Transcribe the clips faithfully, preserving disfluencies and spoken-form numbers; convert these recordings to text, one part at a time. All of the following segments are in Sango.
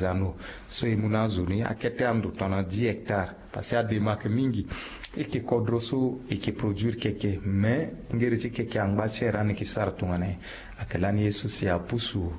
Zano so e mu na azo ni akete ando tongana dix hectares. Parce que adema ayeke mingi. E yeke kodro so e yeke produire keke, mais ngere ti keke angba ti ere ani yeke sara tongana nyen? Ayeke lani ye so si apusu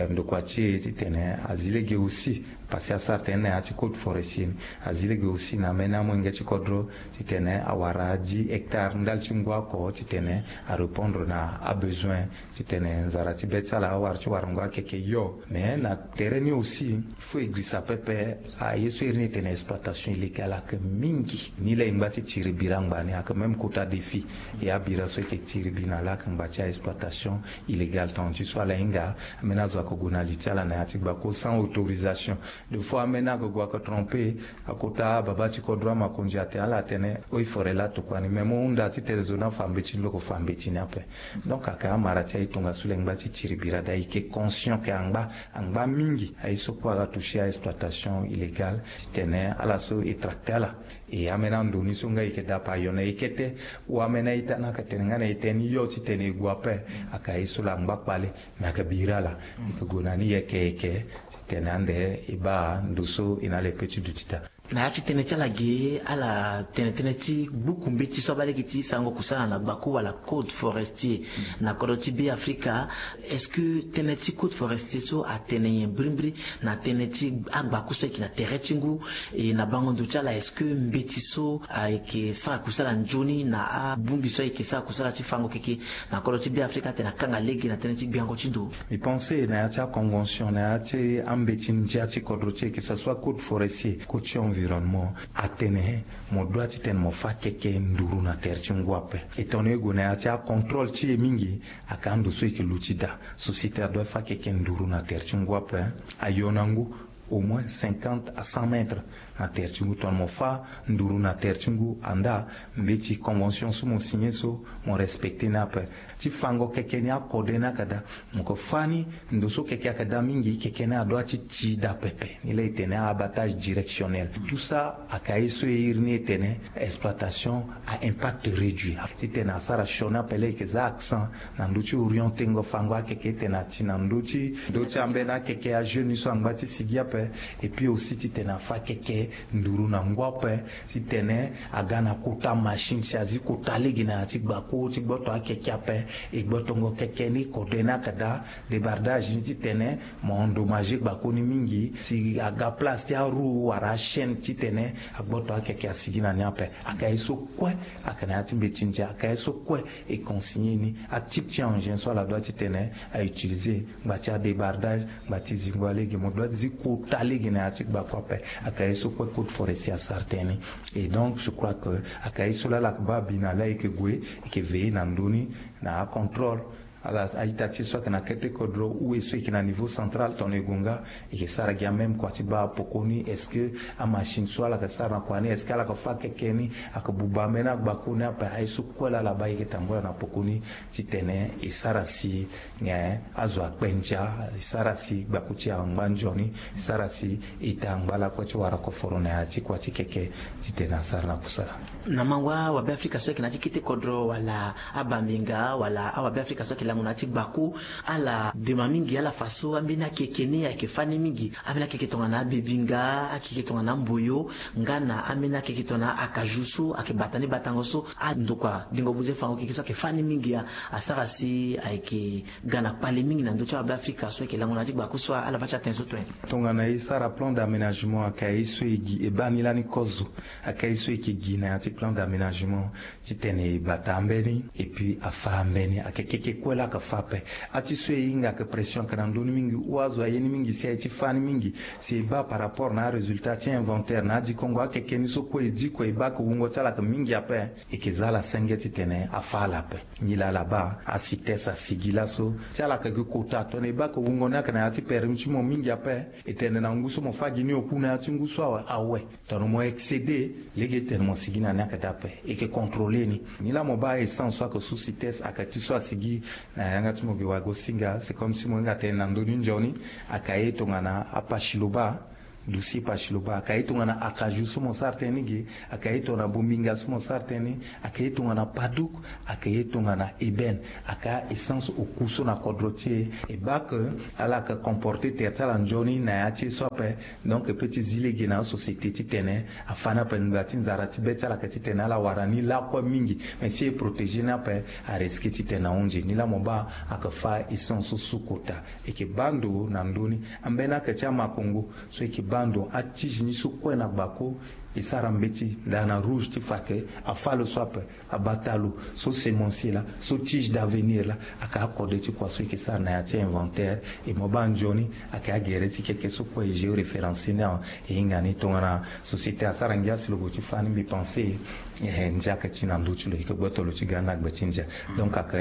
ndokua ti e titene azi lege aussi. Parce que asara tënë na ya ti code forestier ni, azi lege aussi na ambeni amolenge ti kodro titene awara dix hectares ndali ti ngu oko titene arépondre na abesoin titene nzara ti be ti ala awara ti wara ngu akeke yo. Mais na tere ni aussi, il faut e girisa pepe. Aye so iri ni e tene exploitation illégale ayeke mingi. Ni laa e ngba ti tiri bira ngba ni ayeke même kota défi. E abira so e yeke tiri bi na laa ayeke ngba ti a-exploitation illégale. Tongana ti so ala hinga, ambeni azo ayeke gue na li ti ala na ya ti gbako sans autorisation. Des fois ambeni ayeke gue ayeke tromper. Akota baba ti kodro amakonzi atene ala atene eaux et forêts laa tokua ni, mais mo hunda titene zo ni afa mbeti ni, lo yeke fa mbeti ni ape. Donc ayeke amara ti aye tongaso le ngba ti tiri bira daa. E yeke conscient ke angba, angba mingi aye so kue aga toucher a-exploitation illégale titene ala so e tracter ala. E ambeni ando ni so nga e yeke daa ape ayo na e kete. Ou ambeni a-ita ni ayeke tene nga na e tene ni yo titene e gue ape. Ayeke aye so laa angba kpale. Me ayeke bira ala. E yeke gue na ni yeke yeke titene ande e baa ndo so e na ala e pe ti duti daa. Na ya ti tënë ti ala ge, ala tene tënë ti gbuku mbeti so abaa lege ti sarango kusala na gbako wala code forestier na kodro ti Be Afrika. Est-ce que tënë ti code forestier so atene nyen mbirimbiri na tënë ti agbako so ayeke na tere ti ngu? E na bango ndo ti ala, est-ce que mbeti so ayeke sara kusala nzoni na abongbi so ayeke sara kusala ti fango keke na kodro ti Be Afrika atene akanga lege na tënë ti gbiango ti ndo? Mi pense na ya ti aconvention na ya ti ambeti ndia ti kodro ti e, que ce soit code forestier, code ti environnement, atene mo doit titene mo fa keke nduru na tere ti ngu ape. E tongana e gue na ya ti acontrôle ti e mingi, ayeke ando so e yeke luti daa. Société adoit fa keke nduru na tere ti ngu ape. Ayo na ngu au moins cinquante à cent mètres na tere ti ngu. Tongana mo fa nduru na tere ti ngu, andaa mbeti convention so mo signer so mo respecter ni ape. Ti fango keke ni akode ni ayeke daa. Mo yeke fa ni ndo so keke ayeke daa mingi, keke ni adoit ti ti daa pepe. Ni laa e tene a-abattage directionnel. Tout ça ayeke aye so e iri ni e tene exploitation à impact réduit. Titene asara sioni ape laa e yeke za accent na ndö ti orientengo fango akeke, e tene ati na ndö ti, ndö ti ambeni akeke ajeune so angba ti sigi ape. Et puis aussi titene afa keke nduru na ngu ape, titene aga na kota machine si azi kota lege na ya ti gbako ti gboto akeke ape. E gbotongo keke ni kode ni ayeke daa. Débardage ni titene mo endommager gbako ni mingi, si aga place ti aroue wala achaîne titene agboto akeke asigi na ni ape. Ayeke aye so kue ayeke na ya ti mbeti ndia, ayeke aye so kue e consigner ni. Atype ti engin so ala doit titene a utiliser, ngba ti adébardage, ngba ti zingo alege, mo doit ti zi kota lege na ya ti gbako ape. Ayeke aye so kue code forestier asara tënë ni. Et donc je crois que ayeke aye so laa ala yeke baa abi na laa e yeke gue, e yeke veiller na ndö ni na acontrôle. Ala a-ita ti e so ayeke na kete kodro ou e so e yeke na niveau central, tongana e gue nga, e yeke sara gi amême kua ti baa apoko ni. Est-ce que amachine so ala yeke sara na kua ni, est-ce que ala yeke fa keke ni? Ayeke buba ambeni agbako ni ape. Aye so kue laa ala baa e yeke tambula na poko ni titene e sara si nyen azo akpe ndia, e sara si gbako ti e angba nzoni, e sara si ita angba lakue ti wara koforo na ya ti kua ti keke titene asara na kusala. Na mango awabe afrika so ayeke na ya ti kete kodro wala abambinga wala awabe afrika so ayeke lango na ya ti gbako, ala dema mingi ala fa so ambeni akeke ni ayeke fani mingi. Ambeni akeke tongana abebinga, akeke tongana amboyo, nga na ambeni akeke tongana akaju so ayeke bata ni batango so andokua dingo buze fango keke so ayeke fani mingi. Asara si ayeke ga na kpale mingi na ndö ti awabe afrika so ayeke lango na ya ti gbako so, ala baa ti atene so tue. Tongana e sara plan d'aménagement, ayeke aye so e gi e baa ni lani kozo. Ayeke aye so e yeke gi na ya ti plan d'aménagement titene e bata ambeni et puis afa ambeni. Ayeke keke kue laa ayeke fa ape. Ati so e hinga ayeke pression ayeke na ndö ni mingi ou azo aye ni mingi si aye ti fa ni mingi. Si e baa par rapport na arésultat ti inventaire na adikongo akeke ni so kue e diko e baa ayeke wungo ti ala ayeke mingi ape. E yeke za ala senge titene afa ala ape. Nilaa ala baa aCITES asigi laso ti ala yeke gi kota tongana e baa ayeke wungo ni ayeke na ya ti permis ti mo mingi ape. E tene na ngu so mo fa gi ni oku na ya ti ngu so awe, awe. Tongana mo excéder, lege e tene mo sigi na ni ayeke daa ape. E yeke contrôler ni. Nilaa mo baa essence so ayeke sous CITES ayeke ti so asigi na yanga ti mo gi wagosinga, c'est comme si mo hinga tene na ndö ni nzoni. Ayeke aye tongana apasi lo baa. Dusi pasi lo baa aka ye tongana akaju so mo sara tënë ni ge, aka ye tongana bombinga so mo sara tënë ni, aka ye tongana padouk, aka ye tongana ébène, aka essence oku so na kodro ti e. E baa ke ala yeke comporter tere ti ala nzoni na ya ti e so ape. Donc e pe ti zi lege na asociété titene afa ni ape ngba ti nzara ti be ti ala yeke titene ala wara ni lakue mingi. Mais si e protéger ni ape, a risquer titene ahunzi ni laa mo baa. Aka fa essence so sukota. E yeke baa ndo na ndö ni. Ambeni aka ti amakongo so e yeke baa ndo, atige ni so kue na gbako. E sara mbeti daa na rouge ti fa ke afa lo so ape, abata lo so semencier laa, so tige d'avenir laa. Aka akode ti kua so e yeke sara na ya ti inventaire. E mo baa nzoni aka agere ti keke so kue e géoréférencier ni awe. E hinga ni tongana société asara ngia si lo gue ti fa ni mbi pense. Eh, ndia aka ti na ndö ti lo e yeke gboto lo ti ga ni na gbe ti ndia. Donc aka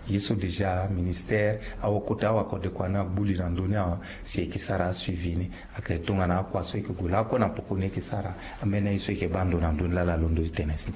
ye so déjà ministère awakota awakode kua ni agbu li na ndö ni awe. Si e yeke sara asuivi ni. Aka tongana akua so e yeke gue lakue na poko ni e yeke sara. Ambeni aye so e yeke baa ndo na ndö ni laa ala londo ti tene si.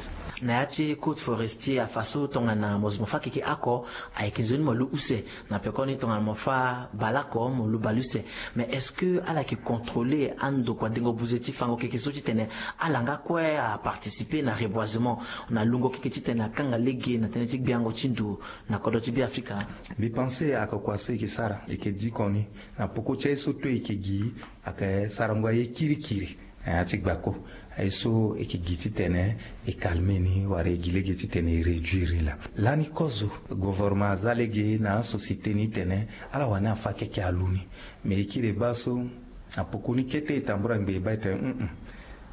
Na ya ti code forestier afa so tongana mo zo mo fa keke oko, ayeke nzoni mo lu use. Na pekoni tongana mo fa baleoko mo lu baleuse. Mais est-ce que ala yeke contrôler andokua dengo buze ti fango keke so titene ala nga kue aparticiper na reboisement, na lungo keke titene akanga lege na tënë ti gbiango ti ndo na kodro ti Beafrika? Mbi pense aka kua so e yeke sara e yeke diko ni. Na poko ti aye so to e yeke gi, aka sarango aye kirikiri na ya ti gbako. Aye so e yeke gi titene e calmer ni wala e gi lege titene e réduire ni laa. Lani kozo gouvernement aza lege na asociété ni tene ala wani afa keke alu ni. Mais e kiri e baa so na poko ni kete e tambura ngbe e baa e tene, hum,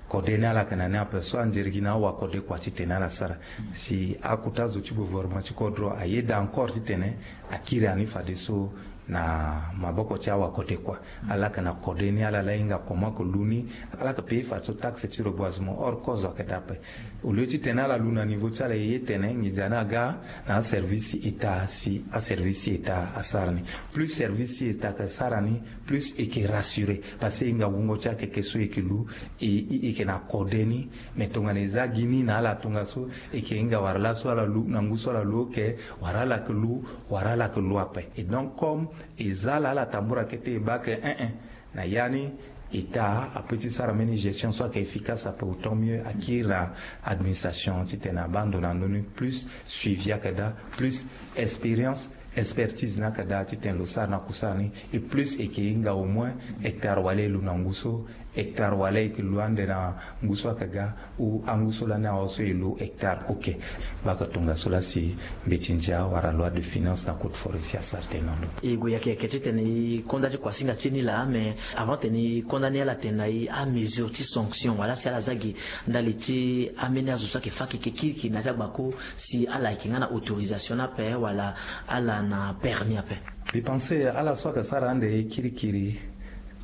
kode ni ala yeke na ni ape so anzere gi na awakode kua titene ala sara. Si akota zo ti gouvernement ti kodro ayeda encore titene akiri ani fadeso na maboko ti awakode kua. Ala yeke na kode ni ala la hinga comment ke lu ni. Ala yeke payer fadeso taxe ti reboisement, or kozo ayeke daa ape. Au lieu titene ala lu na niveau ti ala e ye tene nginza ni aga na aservice ti état si aservice ti état asara ni. Plus service ti état ayeke sara ni, plus e yeke rassurer. Parce que e hinga wungo ti akeke so e yeke lu, e yeke na kode ni. Mais tongana e za gi ni na ala tongaso, e yeke hinga wara laso ala lu na ngu so ala lu oke, wara ala yeke lu, wara ala yeke lu ape. Et donc comme e za ala ala tambura kete e baa ke, eh eh, na ya ni état ape ti sara mbeni gestion so ayeke efficace ape, autant mieux akiri na administration titene abaa ndo na ndö ni. Plus suivi ayeke daa, plus expérience, expertise ni ayeke daa titene lo sara na kusara ni. Et plus e yeke hinga au moins hectare wala e lu na ngu so, hectare wala e yeke lu ande na ngu so ayeke ga, ou angu so lani awe so e lu hectare. Ok. Baka tongaso laa si mbeti ndia wala loi de finance na code forestier asara tënë na ndo. E gue yeke yeke titene e konda ti kuasinga ti e ni laa, mais avant tene e konda ni ala tene na e amesure ti sanction wala si ala za gi ndali ti ambeni azo so ayeke fa keke kirikiri na ya ti agbako, si ala yeke nga na autorisation ni ape wala ala na permis ape? Mbi pense ala so ayeke sara ande kirikiri,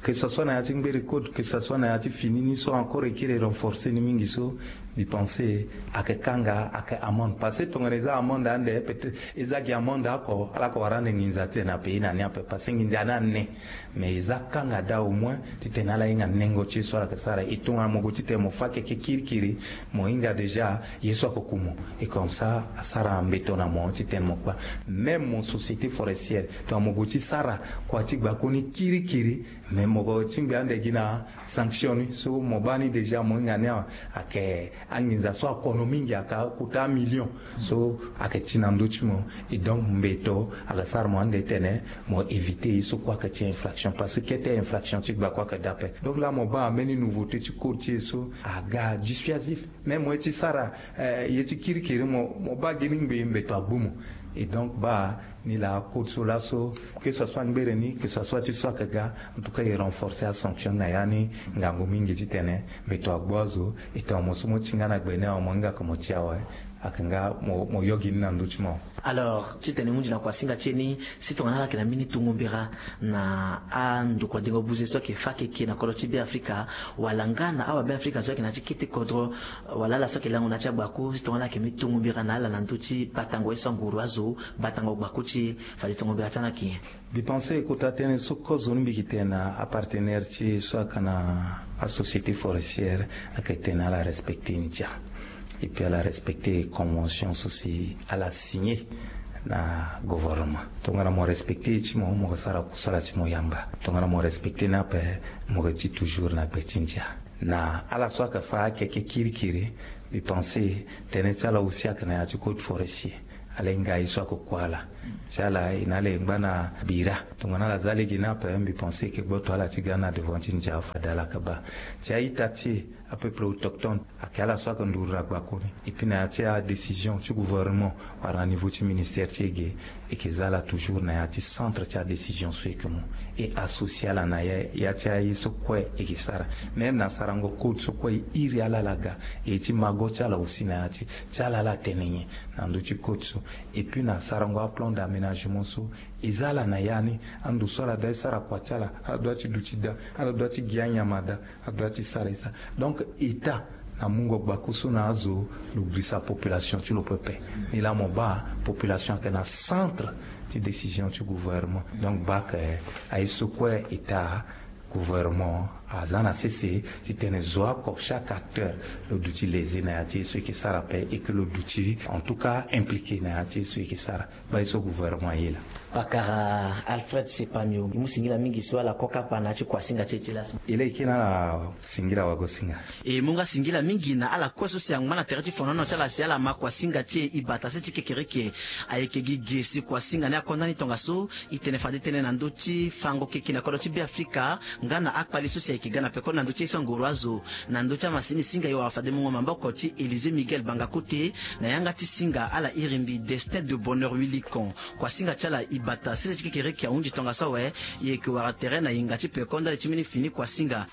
que ce soit na ya ti ngbere code, que ce soit na ya ti fini ni so encore e kiri e renforcer ni mingi so, mbi pense ayeke kanga ayeke amende. Parce que tongana e za amende ande, peut-être e za gi amende oko, ala yeke wara ande nginza ti tene apayer na ni ape, parce que nginza ni ane. Mais e za kanga daa au moins titene ala hinga nengo ti ye so ala yeke sara. E tongana mo gue titene mo fa keke kirikiri, mo hinga déjà ye so ayeke ku mo. Et comme ça asara mbeto na mo titene mo kpa. Même mo société forestière, tongana mo gue ti sara kua ti gbako ni kirikiri, mais mo ti ngbi ande gi na sanction ni so mo baa ni déjà, mo hinga ni awe, ayeke anginza so akono mingi, ayeke akota amillion. So ayeke ti na ndö ti mo. Et donc mbeto ayeke sara mo ande tene mo éviter ye so kue ayeke ti infraction, parce que kete infraction ti gbako ayeke daa ape. Donc laa mo baa ambeni nouveauté ti code ti e so aga dissuasif. Même mo ye ti sara, eh, ye ti kirikiri, mo, mo baa gi ni ngbii mbeto agbu mo. Et donc baa ni laa code so laso, que ce soit ngbere ni, que ce soit ti so ayeke ga, en tout cas e renforcer asanction na ya ni ngangu mingi titene mbeto agbu azo. E tongana mo so mo ti nga na gbe ni awe, mo hinga ke mo ti awe, ayeke nga mo, mo yo gi ni na ndö ti mo. Alors titene e hunzi na kuasinga ti e ni, si tongana ala yeke na mbeni tongo mbira na andokua dengo buze so ayeke fa keke na kodro ti Beafrika, wala nga na awabeafrika so ayeke na ya ti kete kodro, wala ala so ayeke lango na ya ti agbako, si tongana ala yeke mbeni tongo mbira na ala na ndö ti batango ye so anguru azo, batango gbako ti e, fade tongo mbira ti ala ayeke nyen? Mbi pense kota tënë so kozo ni mbi yeke tene na apartenaire ti e so ayeke na asociété forestière, ayeke tene ala respecter ndia. Et puis ala respecter convention so si ala signer na gouvernement. Tongana mo respecte ye ti mo, mo ke sara kusala ti mo yamba. Tongana mo respecte ni ape, mo ke ti toujours na gbe ti ndia. Na ala so ake fa akeke kirikiri, mbi pense tënë ti ala aussi ake na ya ti code forestier. Ala hinga aye so ake kue ala. Ti ala e na ala e ngba na bira. Tongana ala za lege ni ape, mbi pense e ke gboto ala ti ga na devant ti ndia fade ala ke baa. Ti a-ita ti e, apeuple autochtone, ake ala so ake nduru na gbakoni. Et puis na ya ti adécision ti gouvernement wala na niveau ti ministère ti e ge, e ke za ala toujours na ya ti centre ti adécision so e ke mu. E associer ala na ya, ya ti aye so kue e ke sara. Même na sarango code so kue e iri ala ala ga. E ti mago ti ala aussi na ya ti, ti ala ala tene nyen na ndö ti code so. Et puis na sarango aplan d'aménagement so, e za ala na ya ni, ando so ala doit ti sara kua ti ala, ala doit ti duti daa, ala doit ti gi anyama daa, ala doit ti sara e sara. Donc État na mungo gbako so na azo, lo girisa population ti lo pepe. Nilaa mo baa population ake na centre ti décision ti gouvernement. Donc baa ake aye so kue État, gouvernement aza na sese ti tene zo oko chaque acteur lo duti léser na ya ti ye so e ke sara ape, et que lo duti en tout cas impliqué na ya ti ye so e ke sara. Baa ye so gouvernement aye laa. Pakara Alfred Sepamio, e mu singila mingi so ala ko kapa na ya ti kuasinga ti e ti laso. E laa e kiri na ala singila wagosinga. E mu nga singila mingi na ala kue so si angba na tere ti fonono ti ala si ala ma kuasinga ti e, e bata sese ti kekereke. Ayeke gi ge si kuasinga ni akonda ni tongaso. E tene fade tënë na ndö ti fango keke na kodro ti Beafrika nga na akpali so si ayeke ga na pekoni na ndö ti ye so angoro azo na ndö ti amasini singa e wara fade mungo maboko ti Élysée Miguel Banga Kote. Na yanga ti singa ala iri mbi Destin de Bonheur Wilikon. Kuasinga ti ala e bata sese ti kekereke ahunzi tongaso awe. E yeke wara tere na yinga ti peko ndali ti mbeni fini kuasinga.